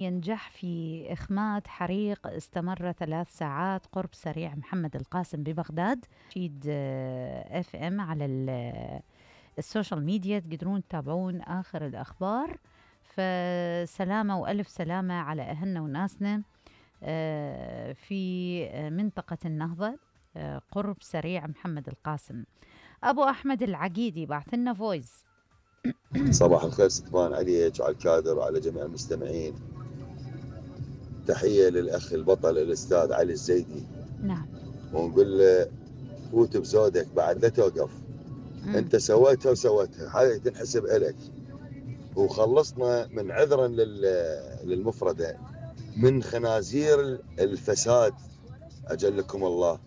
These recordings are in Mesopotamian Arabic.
ينجح في إخماد حريق استمر 3 ساعات قرب سريع محمد القاسم ببغداد. شيد اف ام على السوشيال ميديا تقدرون تتابعون آخر الأخبار. فسلامة وألف سلامة على أهلنا وناسنا في منطقة النهضة قرب سريع محمد القاسم. أبو أحمد العقيدي بعث لنا فويس. صباح الخير ستفان عليك وعلى الكادر وعلى جميع المستمعين. تحية للأخ البطل الأستاذ علي الزيدي. نعم. ونقول له فوت بزودك بعد لا توقف. أنت سويتها وسويتها، هاي تنحسب إلك. وخلصنا من عذرا للمفردة من خنازير الفساد أجلكم الله،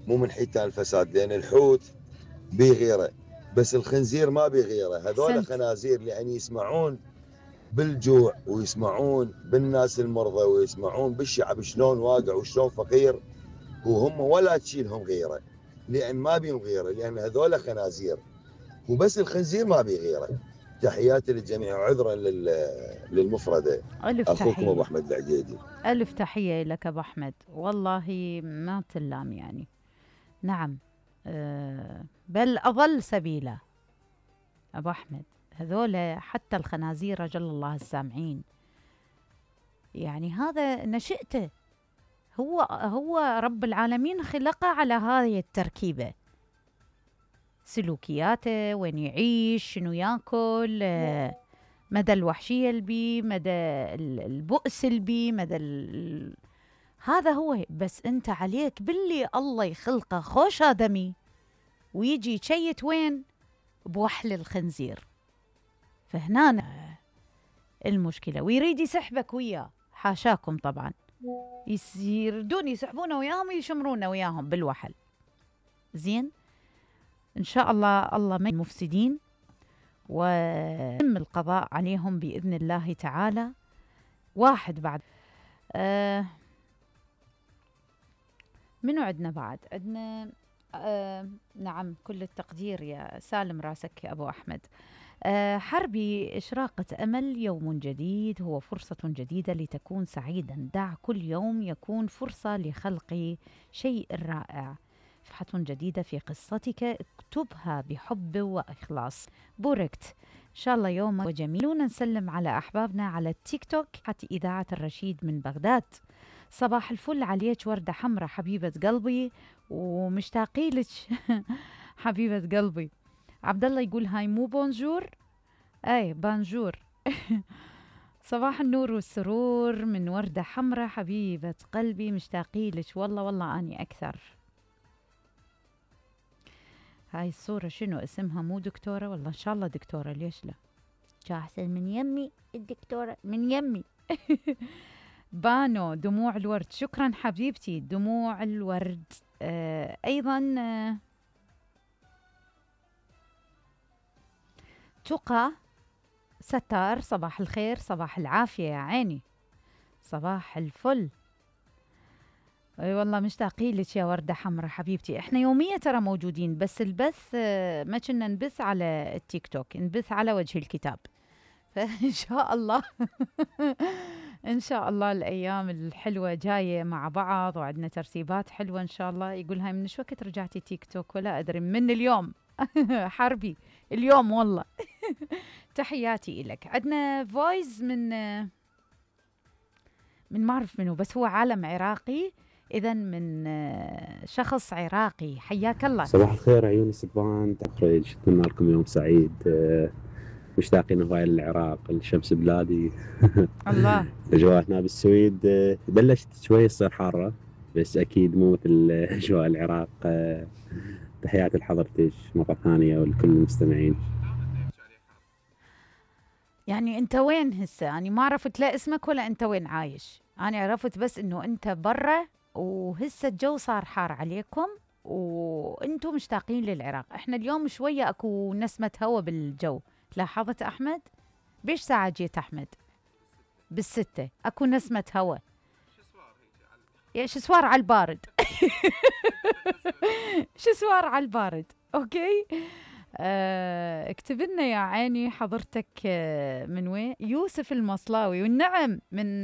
مو من حيتان الفساد، لأن الحوت بيغيره بس الخنزير ما بيغيره. هذول خنازير لأن يسمعون بالجوع ويسمعون بالناس المرضى ويسمعون بالشعب شلون واقع وشلون فقير، وهم ولا تشيلهم غيره لأن ما بيهم غيره، لأن هذول خنازير وبس الخنزير ما بيغيره. تحياتي للجميع وعذرا للمفردة. أخوكم أبو أحمد العقيدي. ألف تحية لك أبو أحمد، والله ما تلام يعني. نعم بل أضل سبيلا أبو أحمد. هذول حتى الخنازير رجل الله السامعين، يعني هذا نشأته، هو رب العالمين خلقه على هذه التركيبة، سلوكياته، وين يعيش، شنو ياكل، مدى الوحشية البي، مدى البؤس البي، مدى هذا هو. بس انت عليك باللي الله يخلقه خوش آدمي ويجي يشيت وين؟ بوحل الخنزير. فهنا المشكلة، ويريد يسحبك وياه، حاشاكم طبعا، يردون يسحبونه وياهم ويشمرونه وياهم بالوحل. زين، إن شاء الله من المفسدين ويتم القضاء عليهم بإذن الله تعالى. واحد بعد منو عندنا بعد؟ عندنا نعم، كل التقدير يا سالم راسك يا أبو أحمد. حربي إشراقة أمل، يوم جديد هو فرصة جديدة لتكون سعيدا. دع كل يوم يكون فرصة لخلق شيء رائع. صفحة جديدة في قصتك، اكتبها بحب وإخلاص. بوركت إن شاء الله يوم جميل. نسلم على أحبابنا على التيك توك. حتى إذاعة الرشيد من بغداد، صباح الفل عليك وردة حمراء حبيبة قلبي ومشتاقي لك حبيبة قلبي. عبد الله يقول هاي مو بونجور، اي بانجور صباح النور والسرور من وردة حمراء حبيبة قلبي، مشتاقي لك والله اني اكثر. هاي الصورة شنو اسمها؟ مو دكتورة؟ والله ان شاء الله دكتورة، ليش لا؟ جاهزة من يمي الدكتورة من يمي بانو دموع الورد، شكرا حبيبتي دموع الورد. ايضا تقى ستار، صباح الخير صباح العافية يا عيني، صباح الفل. اي والله مشتاقي لك يا وردة حمراء حبيبتي. احنا يوميا ترى موجودين، بس البث ما كنا نبث على التيك توك، نبث على وجه الكتاب. فإن شاء الله إن شاء الله الأيام الحلوة جاية مع بعض، وعندنا ترتيبات حلوة إن شاء الله. يقول هاي من شو وقت رجعتي تيك توك؟ ولا أدري، من اليوم حربي اليوم والله تحياتي إلك. عندنا فويس من ما أعرف منه، بس هو عالم عراقي، إذن من شخص عراقي. حياك الله. صباح الخير عيوني سبان تخرج، أتمنى لكم يوم سعيد. مشتاقين هواي للعراق، الشمس بلادي الله. اجواء هنا بالسويد بلشت شوي تصير حاره، بس اكيد مو مثل اجواء العراق. تحياتي لحضرتك مره ثانيه ولكل المستمعين. يعني انت وين هسه؟ يعني ما عرفت لا اسمك ولا انت وين عايش. انا عرفت بس انه انت برا، وهسه الجو صار حار عليكم وانتم مشتاقين للعراق. احنا اليوم شويه اكو نسمه هوا بالجو، لاحظت احمد؟ بيش ساعه جيت احمد؟ بالستة اكو نسمه هوا. يا شسوار على البارد شسوار على البارد. اوكي اكتب لنا يا عيني حضرتك من وين؟ يوسف المصلاوي، والنعم من